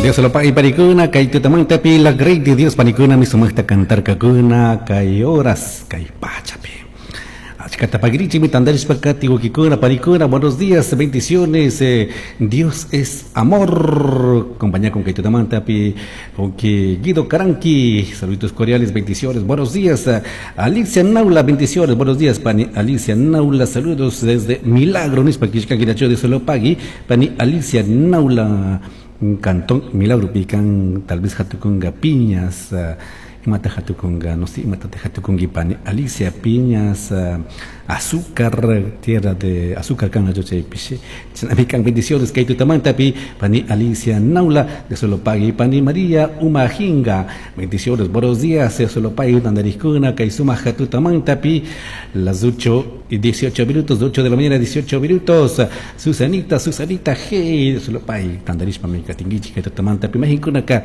Dios lo pague panikuna, kay tutamantapi la grey de Dios panikuna mi sumaqta cantarkakuna kay horas kay pachapi. Achkata pagirichikmi tantarishpa kati wawkikuna panikuna, buenos días, bendiciones. Dios es amor. Compañía con kay tutamantapi wawki Guido Caranqui, saluditos cordiales, bendiciones, buenos días. Alicia Naula, bendiciones, buenos días, pani Alicia Naula, saludos desde Milagro, nispa killkanki Dios lo pagui, pani Alicia Naula, Cantón Milagro, pican, tal vez hatukunga piñas, imata hatukunga, no sé, imata hatukungi pani Alicia Piñas, azúcar, tierra de azúcar kan chaypishi, chaypican bendiciones kay tutamantapi, pani Alicia Naula, de solo pagui, pani María Umajinga, bendiciones, buenos días, de solo pagui, tandarikuna, kay sumaja tutamantapi, las 8 y 18 minutos, 8 de la mañana, 18 minutos, Susanita, Susanita, hey, de solo pagui, tandarishpa mi katingichi, kay tutamantapi, majinkuna ka,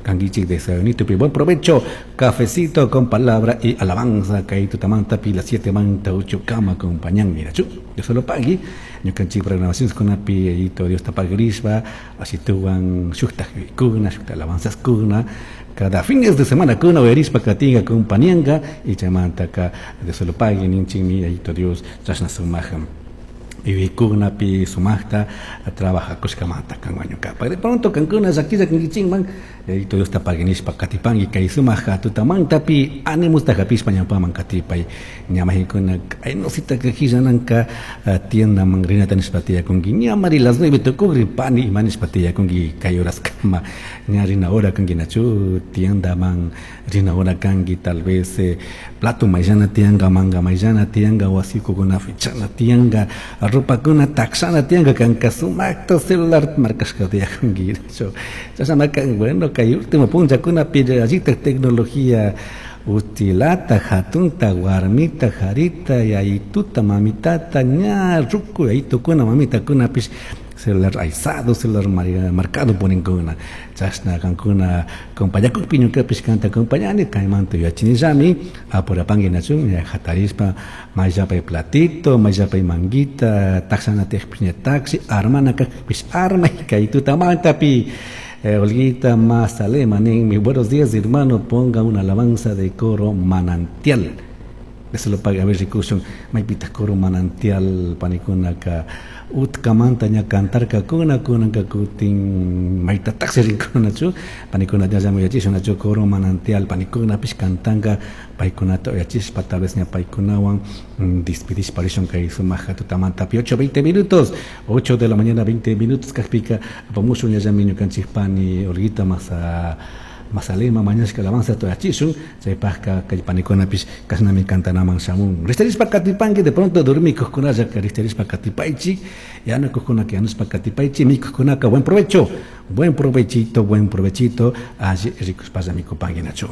kangichik de Sayonito, buen provecho, cafecito con palabra y alabanza, kay tutamantapi, las 7 manta, 8 kama, acompañan, mira, chu, yo solo pagui, ñukanchik programaciones con api, ayito Dios tapagrishpa, así tuwan, shukta kuna, shukta alabanzas kuna, cada fines de semana kuna, uyarishpa katinga acompañanga, y chamantaka, de solo pagui, ninchikmi, ayito Dios, chashna sumajam. Yuyaykunapi sumaqta trabajakushkamanta kanwan ñuqapa. De pronto kankuna llakilla kankichikman, Yayito Diosta paguinishpa katipanki kay sumaq tutamantapi animusta hapishpa ñawpaman katipay. Ñamajinkuna kaynosita kajillananka tiendaman rinata nishpa tiyakunki. Ñamari las 9 tukukri pani ima nishpa tiyakunki kay horaskama. Ña rina hora kanki nachu tiendaman rina hora kanki tal vez plato mayllana tiyanka, manga mayllana tiyanka, wasikukuna fichana tiyanka, ropakuna taksana tiyanka, kanka sumakta celular markashka tiyakunki. Nachu chashna kan, bueno, kay último punllakunapi allita tecnología utilata, hatunta, warmita, jarita, yayituta, mamitata, ña, ruku, yayitukuna, mamitakunapish celular aizado, celular marcado poninkuna. Chashna kankuna acompañakukpi ñukapish kanta acompañani, kaymanta yuyachinillami, apurapanki nachun, ña hatarishpa, mayllapay platito, mayllapay manguita, taxana tiyakpish ña taxi, armana kakpish armay, kay tutamantapi. Olguita Mazalema, ninmi, buenos días hermano, ponga una alabanza de coro manantial. Eso lo paga, a ver, rikushun, maypita coro manantial, panikunaka, utkamanta ña cantarka kuna, kunanka kutin, mayta taxi rinkunachu, panikuna ña llamo yachishun, nachu coro manantial, panikunapish cantanka, paykunata uyachishpa, tal vez ña paykunawan, despidishpa rishun kay sumaja tutamantapi, 8:20 minutos, 8 de la mañana, 20 minutos, kajpika, apamushun ña llami ñukanchik pani, Olguita Mazalema, mañashka alabanza toyachishun, chaypajka kay panikunapish kashnami cantanaman shamun. Ristarishpa katipanki, de pronto dormikuqkunalla ristarishpa katipaychik, yanukuqkunaka yanushpa katipaychik, mikuqkunaka buen provecho, buen provechito, buen provechito, alli rikushpalla mikupanki nachu.